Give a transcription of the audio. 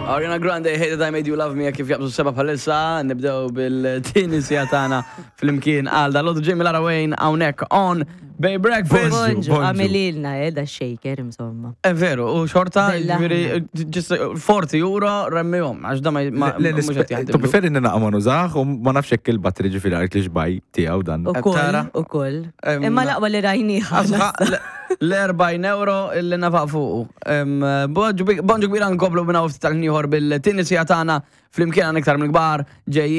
Ariana Grande, Hate That I Made You Love Me, kif jaqbżu seba bħalissa, nibdew bil-tieni sija tagħna flimkien għal dal Jamie Lara Wayne hawnhekk on Bay Breakfast. Bonġu, Bonġu. għamililna, da shaker, insomma. Eh, veru, u xorta, Bella. ġifieri, ġist 40 euro remmihom, għax da ma Le, mhux qed Tu jaħdimlu. preferi nina ma nużax u ma nafx jekk il-battery ġifieri għart li xbaj tiegħu dan. U koll, tara? u koll. Em, Imma laqwa li rajniħa. Asħa, l-40 euro illi nafaq fuqu. Bonġu kbira nkomplu minna ufti tal-ħniħor bil-tieni sija tagħna flimkien għan iktar mill-kbar ġejjin.